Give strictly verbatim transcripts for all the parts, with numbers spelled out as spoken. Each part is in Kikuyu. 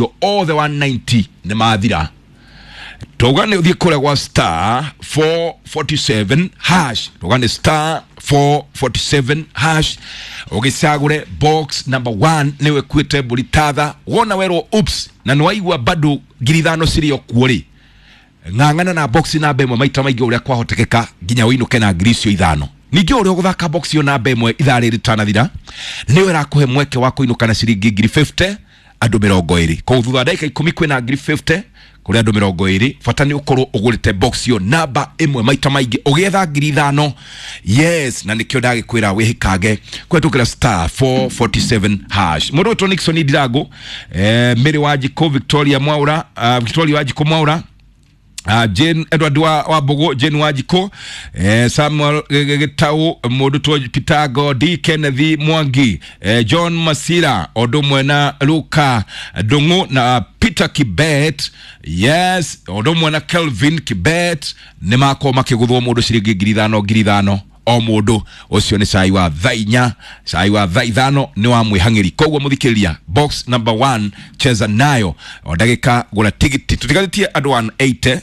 Othe one ninety nĩ mathira. Tauga nĩ ũthiĩ kũrĩa gwa star four forty-seven hash, tauga nĩ star four forty-seven hash, ũgĩcagũre box number one nĩwe kuĩte mbũri tatha. Wona werwo oops na nĩ waigua bado ngiri ithano cirĩ o kuo rĩ, ng'ang'ana na box namba ĩmwe maita maingĩ ũrĩa kwahotekeka nginya ũinũke na ngiri icio ithano. Ningĩ ũrĩa ũgũthaka box ĩyo namba ĩmwe ithaa rĩrĩ rĩtanathira nĩwe ĩrakũhe mweke wa kũinũka na ciringi ngiri fifty andũ mĩrongo ĩrĩ. Koguo thutha wa ndagĩka ikũmi kwĩna ngiri fifty kũrĩ andũ mĩrongo ĩrĩ. Bata nĩ ũkorwo ũgũrĩte box ĩyo namba ĩmwe maita maingĩ ũgĩetha ngiri ithano. Yes, na nĩkĩo ndagĩkwĩra wĩhĩkange kũhetũkĩra star four forty-seven hash. Mũndũ wĩtwo Nixon Ndirango, eh, Mary Wanjikũ, Victoria Mwaura, uh, Victoria Wanjikũ Mwaura, Uh, Jane Edward wa, wa Mbogo, Jane Wanjikũ, eh, Samuel Gitau, mũndũ two Peter Godi, Kenneth Mwangi, eh, John Masira, ũndũ ũmwe na Luka Ndung'u na Peter Kibet, yes, ũndũ ũmwe na Kelvin Kibet, nĩ makorwo makĩgũthwo mũndũ ciringi ngiri ithano ngiri ithano o mũndũ. Ũcio nĩ cai wa thaa inya, cai wa thaa ithano nĩ wa mwĩhang'ĩri. Koguo mũthikĩrĩria, box number one cheza nayo o ndagĩka, gũra tigiti. Tũtigarĩtie andũ one eighty,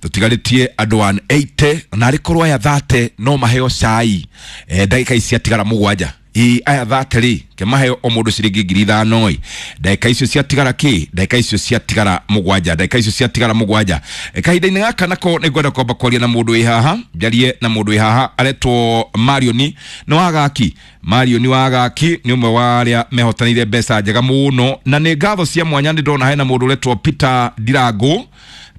tũtigarĩtie andũ one eighty, na arĩ korwo aya thate no maheo cai, eh, ndagĩka ici ciatigara mũgwanja. Ĩ aya thate rĩ, ke maheo o mũndũ ciringi ngiri ithano ĩ, ndagĩka icio ciatigara kĩ, ndagĩka icio ciatigara mũgwanja, ndagĩka icio ciatigara mũgwanja. E, kahinda-inĩ gaka nako nĩ ngwenda kwamba kwaria na mũndũ wĩ haha, njarie na mũndũ wĩ haha aretwo Marioni nĩ wa Gaki. Marioni wa Gaki nĩ ũmwe wa arĩa mehotanĩire mbeca njega mũno, na nĩ ngatho cia mwanya nĩ ndona hena mũndũ ũretwo Peter Ndirango.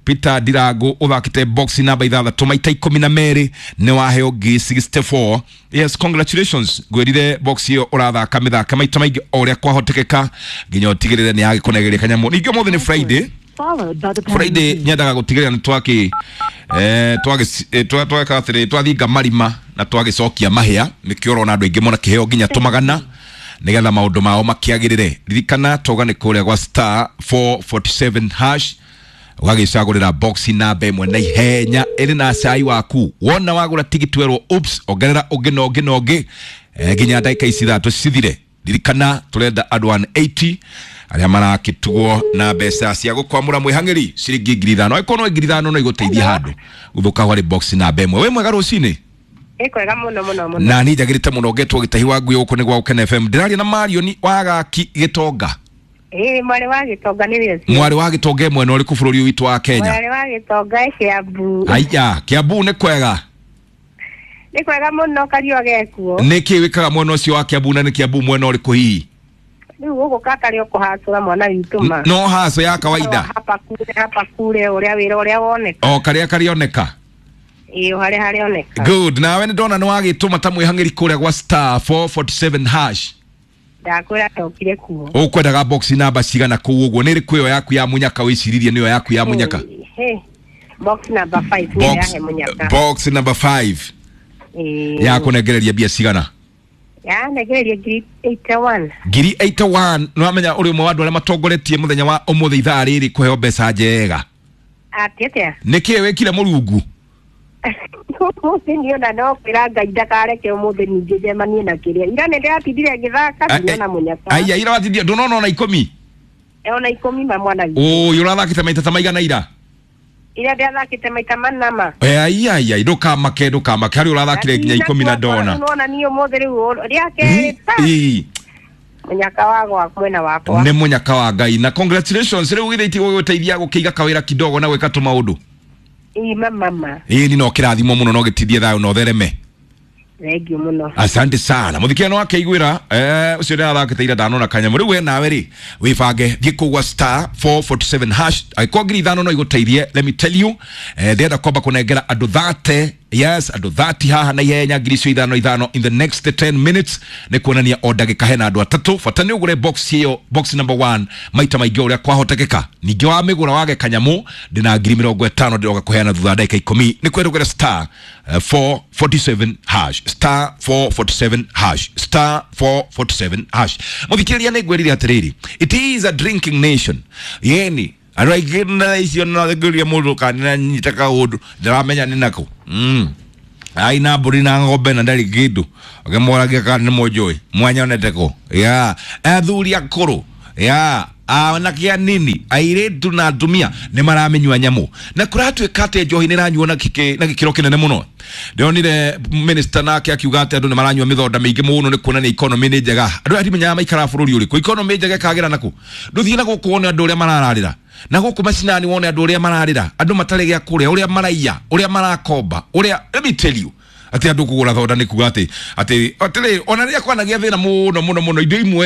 Peter Ndirango ũthakĩte box namba ithathatũ maita ikũmi na merĩ, nĩ waheo ngiri sixty-four. Yes, congratulations. Ngwĩrire box ĩyo ũrathaka mĩthaka maita maingĩ o ũrĩa kwahotekeka nginya ũtigĩrĩre nĩ yagĩkũnegeria kanyamũ. Ningĩ ũmũthĩ nĩ Friday. Friday nyendaga gũtigĩrĩra nĩ twakĩ, eh, twagĩ, eh, twa-, tweka atĩrĩ, twathinga marima na twagĩcokia mahĩa. Nĩkĩo ũrona andũ aingĩ mona kĩheo nginya tũmagana nĩgetha maũndũ mao makĩagĩrĩre. Ririkana toga nĩ kũrĩa gwa star four forty-seven hash, ũgagĩcagũrĩra box namba ĩmwe na ihenya ĩrĩ na cai waku. Wona wagũra tigiti werwo oops, ongerera ũngĩ na ũngĩ na ũngĩ, eh, nginya ndagĩka ici ithatũ cithire. Ririkana tũrenda andũ one eighty arĩa marakĩtugwo na mbeca cia gũkwamũra mwĩhang'ĩri ciringi ngiri ithano. Angĩkorwo no ngiri ithano no igũteithie handũ gũthũka harĩ box namba ĩmwe. Wĩ mwega rũcinĩ? Ĩ kwega mũno mũno mũno. Na niĩ njagĩrĩte mũno ngetwo Gĩtahi wa Ngui gũkũ nĩ gwa Gũkena F M. Ndĩraria na Marioni wa Gaki Gĩtonga. Ĩ mwarĩ wa Gĩtonga nĩ wĩra ũcio. Mwarĩ wa Gĩtonga mwena ũrĩkũ bũrũri ũyũ witũ wa Kenya? Mwarĩ wa Gĩtonga Kiambu. Aya, Kiambu nĩ kwega. Nĩ kwega mũno kariũa gekuo. Nĩ kĩ wĩkaga mwena ũcio wa Kiambu na nĩ Kiambu mwena ũrĩkũ hihi? Rĩu gũkũ katarĩ o kũhacũra mwana witũ ma. No haco ya kawaida. Hapa kule, hapa kule, ũrĩa wĩra ũrĩa woneka. O karĩa karĩoneka. Ĩ, o harĩa harĩoneka. Good. Nawe nĩ ndona nĩ wagĩtũma ta mwĩhang'ĩri kũrĩa gwa star four forty-seven hash. Ndakwĩra ndokire kuo. Ũkwendaga box namba cigana kũu ũguo? Nĩ ĩrĩkũ ĩyo yaku ya mũnyaka wĩciririe nĩyo yaku ya mũnyaka? Hey, box number five nĩyo Box, yahe mũnyaka. box number five. Ĩĩ. Ya kũnengereria mbia cigana? Ya nengereria ngiri eighty-one. Ngiri eighty-one. Nĩ wamenya ũrĩ ũmwe wa andũ arĩa matongoretie mũthenya wa ũmũthĩ ithaa rĩrĩ kũheo mbeca njega. Atĩ atĩa? Nĩ kĩĩ wĩkire Mũrungu? Ũmũthĩ niĩ ona no kwĩra Ngai ndakareke ũmũthĩ ningĩ njemanie na kĩrĩa. Ira nĩ ndĩratindire ngĩthaka, ndinona mũnyaka. Aya, ira watindire, ndũnona ona ikũmi? Ona ikũmi ma mwana witũ. Ũyũ ũrathakĩte maita ta maigana ira? Ira ndĩrathakĩte maita mana ma. Ai, ai, ai, ndũkamake, ndũkamake. Harĩ ũrathakire nginya ikũmi na ndona. Nĩwona niĩ ũmũthĩ rĩu rĩa kerĩ ta. Ĩ. Mũnyaka wa gwa mwena wakwa. Nĩ mũnyaka wa Ngai. Na congratulations, rĩu githĩ itigũgũteithia gũkĩiga kawĩra kidogo na gwĩka tũmaũndũ? Ĩ, ma, ma, ma. Ĩ, ni no kĩrathimo mũno, no gĩtindie thayũ na ũthereme. Thank you mũno. Asante sana. Mũthikĩria no akeiguĩra, eh, ũcio nĩarathakĩte ira ndanona kanyamũ. Rĩu we nawe rĩ, wĩbange, thiĩ kũu gwa star four forty-seven hash. Angĩkorwo ngiri ithano no igũteithie, let me tell you, eh, ndĩrenda kwamba kũnengera andũ thate, yes, andũ thirty haha na ihenya ngiri icio ithano ithano in the next ten minutes. Nĩ kuonania o ndagĩka hena andũ atatũ. Bata nĩ ũgũre box ĩyo, box number one, maita maingĩ ũrĩa kwahotekeka. Ningĩ wamĩgũra wage kanyamũ, ndĩna ngiri mĩrongo ĩtano ndĩroka kũheana thutha wa ndagĩka ikũmi. Nĩ kwendũgĩra star, eh, four forty-seven hash, star four forty-seven hash, star four forty-seven hash. Mũthikĩrĩria nĩ ngwĩrire atĩrĩrĩ, it is a drinking nation. Yeni andũ aingĩ na icio no thikĩrĩria mũndũ kana nĩanyita kaũndũ ndĩramenya nĩ nakũ. Mm. Ai na mbũri na ng'ombe na ndarĩ kĩndũ. Ũkĩmũragia kana nĩ mũnjũĩ, mwanyonete kũ? Ya, athuri akũrũ. Ya, Anake anini, airĩtu na atumia nĩ maramĩnyua nyamũ, na kũratuĩka atĩ njohi nĩ ĩranyuo na gĩkĩ- na gĩkĩro kĩnene mũno. Ndĩronire minister nake akiuga atĩ andũ nĩ maranyua mĩthonda mĩingĩ mũno nĩ kuonania economy nĩ njega. Andũ aya ndimenyaga maikaraga bũrũri ũrĩkũ. Economy njega ĩkagĩra nakũ? Ndũthiĩ na gũkũ wone andũ ũrĩa marararĩra, na gũkũ macinani wone andũ ũrĩa mararĩra, andũ matarĩ gĩa kũrĩa, ũrĩa maraiya, ũrĩa marakomba, ũrĩa, let me tell you, atĩ andũ kũgũra thonda nĩ kuga atĩ atĩ atĩrĩ, ona rĩrĩa kwanagĩa thĩna mũno mũno mũno, indo imwe.